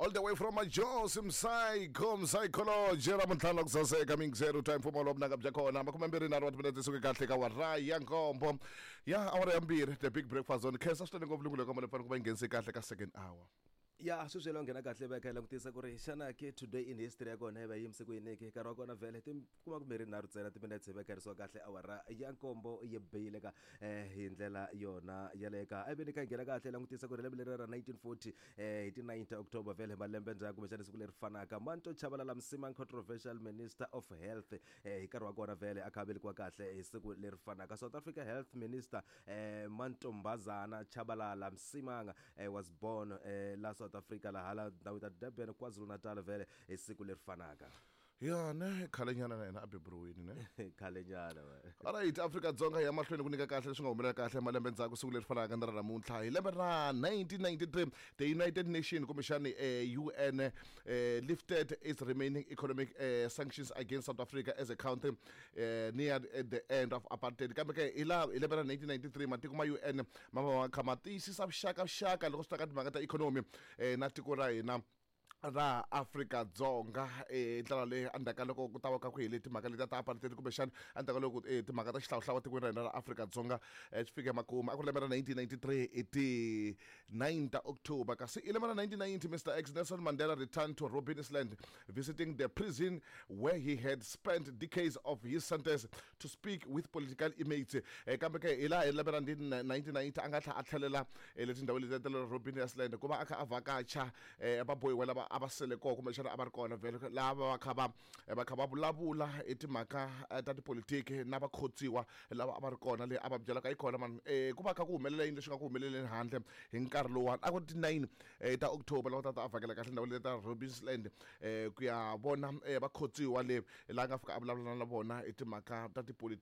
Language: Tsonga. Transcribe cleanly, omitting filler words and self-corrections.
All the way from Majos Msayiko Msayikoloji ra muntlhanu ku saseka mingisero time mfumo wa vunanga bya kona 25 wa timinete suke kahle ka awara ya nkombo ya awara ya mbirhi, The Big Breakfast on khensa swinene ngopfu lungulo ka mali ku va yi nghenise kahle ka second hour. Ya, sweswi lo nghena kahle va kha hi langutisa ku ri xana ke today in history ya kona yi va yimise ku yini ke. Nkarhi wa kona vhele ti kuma kumbirhi nharhu ntsena timinetse hi vekherisiwa kahle awara ya nkombo yi bile ka hi ndlela yona yaleyo ka. A veni kha hi nghena kahle hi langutisa ku ri lembe leri ra 1940 hi ti 9 ta October vhele malembe ndzhaku kumbexana siku leri fanaka, Manto Chabalala Msimang, controversial minister of health hi nkarhi wa kona vhele a kha a velekiwa kahle hi siku leri fanaka. South Africa health minister Mantombazana Chabalala Msimanga was born la South Africa, laha la ndhawu ta Durban, KwaZulu-Natal vhele hi siku leri fanaka. Ya ne, khalenyana na yena a beburiwini ne. Khalenyana. Alright, Afrika Dzonga ya mahlweni ku nyika kahle leswi nga humelela kahle malembe ndzhaku siku leri fanaka na ra namuntlha. Hi lembe ra 1993, the United Nation kumbexani UN lifted its remaining economic sanctions against South Africa as a country near at the end of apartheid. Kambe ke hi laha hi lembe ra 1993 matiko ma UN ma va ma kha ma tiyisisa vuxakaxaka loko swi ta ka timhaka ta ikhonomi na tiko ra hina ra Afrika Dzonga ndlela leyi endzhaku ka loko ku ta va ka ku hele timhaka letiya ta apartheid, kumbexana endzhaku ka loko timhaka ta xihlawuhlawu tikweni ra hina ra Afrika Dzonga swi fike makumu. A ku ri lembe ra 1993 hi ti 9 ta October. Kasi i lembe ra 1990, Mr X Nelson Mandela returned to Robben Island, visiting the prison where he had spent decades of his sentence, to speak with political inmates. Kambe ke hi laha hi lembe ra 1990 a nga tlhela a tlhelela le tindhawini letiya ta le Robben Island ku va a kha a vhakacha vabohiwa lava a va sele kona, kumbexana a va ri kona vhele lava va kha va vulavula hi timhaka ta tipolitiki na vakhotsiwa lava a va ri kona le, a va byelaka yi kona mani ku va kha ku humelela yini leswi nga ku humeleleni handle hi nkarhi lowuwani. A ku ri ti-9 ta October loko ta ta a vhakela kahle ndhawu leyi ta Robben Island ku ya vona vakhotsiwa le laha nga fika a vulavula na vona hi timhaka ta tipolitiki.